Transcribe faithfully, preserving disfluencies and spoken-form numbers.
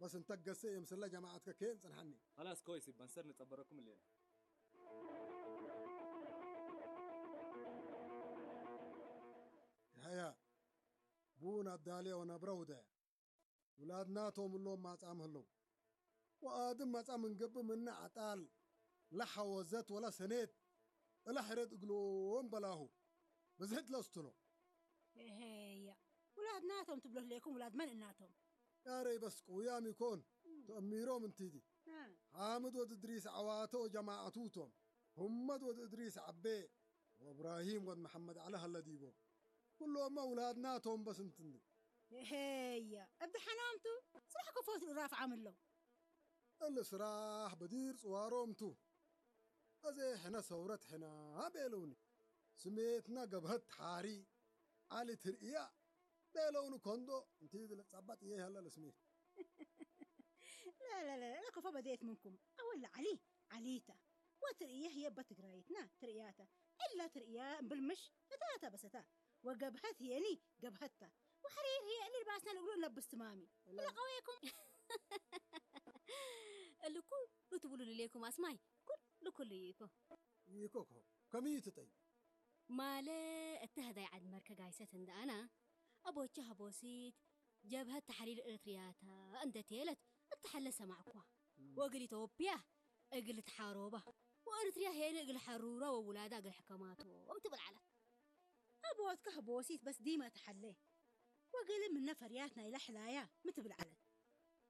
በስ እንተ ገሴ የምስለ ጀማዐትከ ኬን ጽንሐኒ። ኸላስ ኮይስ፣ እብ መንሰር ንጸበረኩም እሌነ። የሐያ፣ ቡን አዳልየ ወነብረ ውደ። ውላድናቶም እሎም ማጻም ህለው። ወአድም መጻ ምን ገብእ ምነ አጣል ለሐወዘት ወለ ሰኔት እለ ሕረት እግሎም በላሁ። ብዝሕት ለስትሎ። ኤሄየ፣ ውላድናቶም ትብሎ ህሌኩም፣ ውላድ መን እናቶም? ያረይ በስ ቅውያም ኢኮን፣ ተአሚሮም እንቲዲ። አ። ሓምድ ወድ እድሪስ ዐዋተ ወጀማዐቱ ቶም። ሁመድ ወድ እድሪስ ዐቤ ወእብራሂም ወድ መሐመድ ዐለ ሀለ ዲቦ። ኩሎመ ውላድናቶም በስ እንትኒ። ሄየ፣ እብ ደሐናም ቱ፣ ስራሕ ከፎት ልራፍ ዓምለው። እሊ ስራሕ በዲር ጽዋሮም ቱ። አዜ ሕነ ሰውረት ሕነ ቤለውኒ። ስሜትና ገብሀት ተሓሪ ዐሊ ትርእያ ቤለውኒ። ኮንዶ እንቲ ለጸበጥ እየ ሀለ ለስሜት። ላ፣ ላ፣ ላ፣ ላ፣ ከፎ በዴት ምንኩም። አወል ለዐሊ፣ ዐሊተ። ወትርእየ ህዬ እበ ትግራይትነ ትርእያተ። እለ ትርእየ እምብል ምሽ እታተ በሰተ። ወገብሀት ህዬኒ ገብሀት ተ። ወሐሪር ህዬ እሊ ልባስነ ልእግሉ እንለብስ ትማሚ። እለ ቀዌኩም። እሊ ኩሉ ትብሉ ልሌኩም አስማይ፣ ኩሉ ኩሉ ይኮ። ይኮኮ፣ ከምዩ ትጠይ? ማለ እተ ህዳይ ዐድ መርከ ጋይሰት እንደ አነ፣ አቦቼ ሀቦሲት ጀብሀት ተሕሪር ኤረትርያተ እንደ ቴለት እተ ሐለ ሰማዕኩዋ። እም። ወእግል ኢትዮጵያ እግል ልትሓሮባ፣ ወኤረትርያ ሄነ እግል ሐሩራ ወውላዳ እግል ሕከማቶም ትብል ዐለት። አቦትከ ሀቦሲት በስ ዲመ እተ ሐለ፣ ወእግል ምነ ፈርያት ናይለ ሕላያ ሚ ትብል ዐለት?